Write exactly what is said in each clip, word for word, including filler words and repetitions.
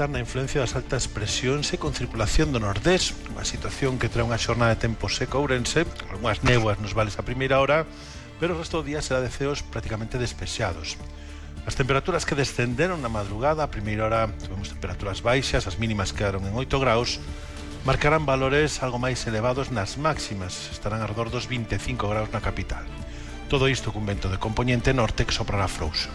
alertar na influencia das altas presións e con circulación do nordés, unha situación que trae unha xornada de tempo seco a Ourense, algunhas néboas nos vales a primeira hora, pero o resto do día será de ceos prácticamente despexados. As temperaturas que descenderon na madrugada, a primeira hora tivemos temperaturas baixas, as mínimas quedaron en oito graus, marcarán valores algo máis elevados nas máximas, estarán arredor dos vinte e cinco graus na capital. Todo isto cun vento de compoñente norte que soprará frouxo.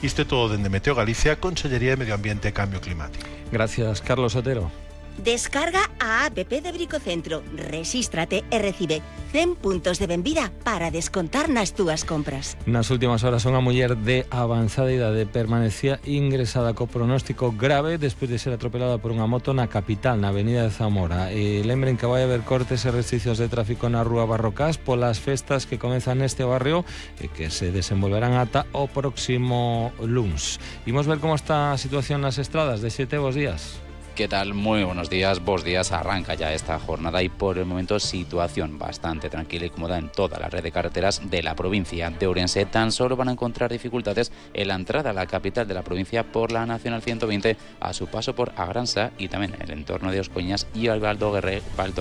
Isto é todo dende Meteo Galicia, Consellería de Medio Ambiente e Cambio Climático. Gracias, Carlos Otero. Descarga a app de Bricocentro, rexístrate e recibe cen puntos de benvida para descontar nas túas compras. Nas últimas horas unha muller de avanzada idade permanecía ingresada co pronóstico grave despois de ser atropelada por unha moto na capital, na avenida de Zamora. E lembren que vai haber cortes e restriccións de tráfico na rúa Barrocás polas festas que comenzan neste barrio e que se desenvolverán ata o próximo luns. Imos ver como está a situación nas estradas. De xete, bos días. ¿Qué tal? Muy buenos días, vos días. Arranca ya esta jornada y por el momento situación bastante tranquila y cómoda en toda la red de carreteras de la provincia de Ourense. Tan solo van a encontrar dificultades en la entrada a la capital de la provincia por la Nacional ciento veinte a su paso por Agransa y también en el entorno de Oscoñas y el Valdo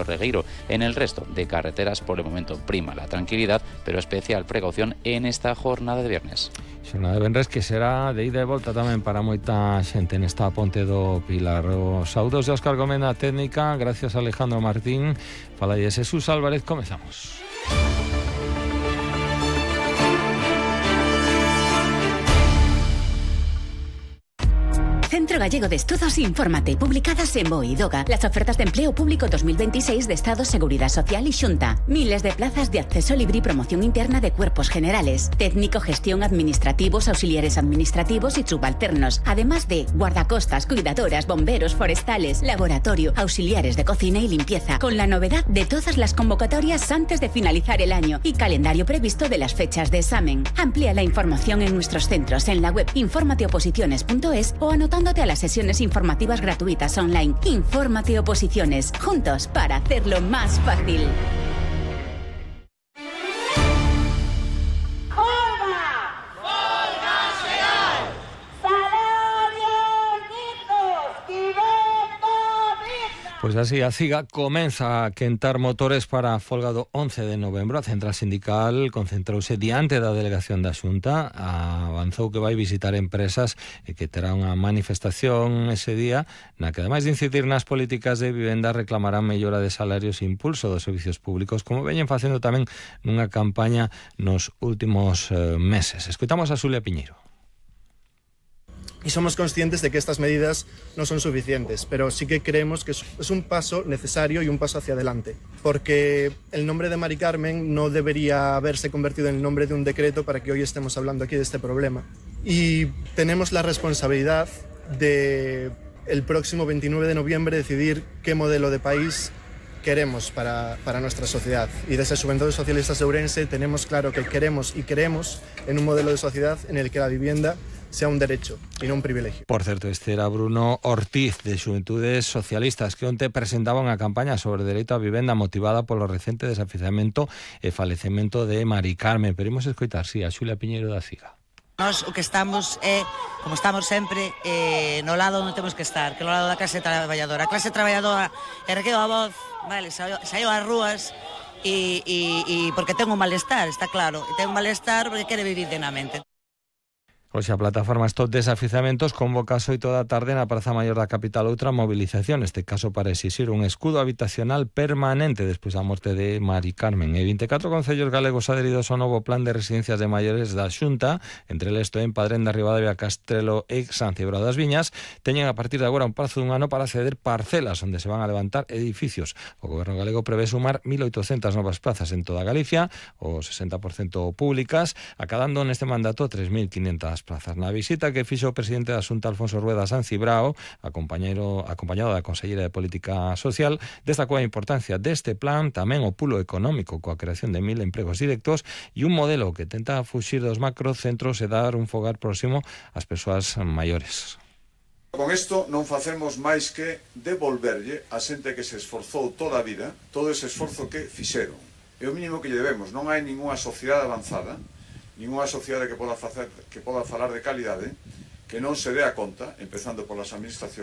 Regueiro. En el resto de carreteras por el momento prima la tranquilidad, pero especial precaución en esta jornada de viernes. Xornada de venres que será de ida e volta tamén para moita xente nesta ponte do Pilar. Os saudos de Óscar Gómez na técnica, gracias a Alejandro Martín. Fala de Jesús Álvarez, comezamos. Centro Gallego de Estudos Infórmate, publicadas en BOE y DOGA. Las ofertas de empleo público dos mil veintiséis de Estado, Seguridad Social y Xunta. Miles de plazas de acceso libre y promoción interna de cuerpos generales. Técnico, gestión, administrativos, auxiliares administrativos y subalternos. Además de guardacostas, cuidadoras, bomberos, forestales, laboratorio, auxiliares de cocina y limpieza. Con la novedad de todas las convocatorias antes de finalizar el año y calendario previsto de las fechas de examen. Amplía la información en nuestros centros en la web informateoposiciones punto es o anotando a las sesiones informativas gratuitas online. Infórmate Oposiciones, juntos para hacerlo más fácil. Pois así, a CIGA comeza a quentar motores para a folga do once de novembro. A central sindical concentrouse diante da delegación da Xunta, avanzou que vai visitar empresas e que terá unha manifestación ese día na que, ademais de incidir nas políticas de vivenda, reclamarán mellora de salarios e impulso dos servicios públicos, como veñen facendo tamén nunha campaña nos últimos eh, meses. Escoitamos a Xulia Piñeiro. Y somos conscientes de que estas medidas no son suficientes, pero sí que creemos que es un paso necesario y un paso hacia adelante, porque el nombre de Mari Carmen no debería haberse convertido en el nombre de un decreto para que hoy estemos hablando aquí de este problema. Y tenemos la responsabilidad de el próximo veintinueve de noviembre decidir qué modelo de país queremos para, para nuestra sociedad. Y desde Juventudes Socialistas de Ourense tenemos claro que queremos y creemos en un modelo de sociedad en el que la vivienda sea un derecho y no un privilegio. Por certo, este era Bruno Ortiz de Xuventudes Socialistas, que onte presentaba unha campaña sobre o dereito á vivenda motivada polo recente desafiamento e falecemento de Mari Carmen. Pero imos escoitar, sí, a Xulia Piñeiro da CIGA. Nós o que estamos é, como estamos sempre, eh, no lado onde temos que estar, que no lado da clase traballadora. A clase traballadora ergueu a voz, vale, saiu ás rúas e, e, e porque ten un malestar, está claro. E ten un malestar porque quere vivir dignamente. Hoxe a plataforma Stop Desafiuzamentos convoca ás oito da tarde na Praza Maior da capital outra movilización, neste caso para exixir un escudo habitacional permanente despois da morte de Mari Carmen. E vinte e catro concellos galegos adheridos ao novo plan de residencias de maiores da Xunta, entre eles en Padrén da Ribadavia, Castrelo e San Cibrao das Viñas, teñen a partir de agora un prazo dun ano para ceder parcelas onde se van a levantar edificios. O goberno galego prevé sumar mil oitocentas novas plazas en toda Galicia, o sesenta por cento públicas, acadando neste mandato tres mil quinhentas plazas. Na visita que fixo o presidente da Xunta, Alfonso Rueda, a San Cibrao, acompañado da Conselleira de Política Social, destacou a importancia deste plan, tamén o pulo económico coa creación de mil empregos directos e un modelo que tenta fuxir dos macrocentros e dar un fogar próximo ás persoas maiores. Con isto non facemos máis que devolverlle a xente que se esforzou toda a vida, todo ese esforzo que fixeron. É o mínimo que lle debemos. Non hai ningunha sociedade avanzada, ningunha sociedade que poda facer, que poda falar de calidade, que non se dé a conta, empezando polas administracións,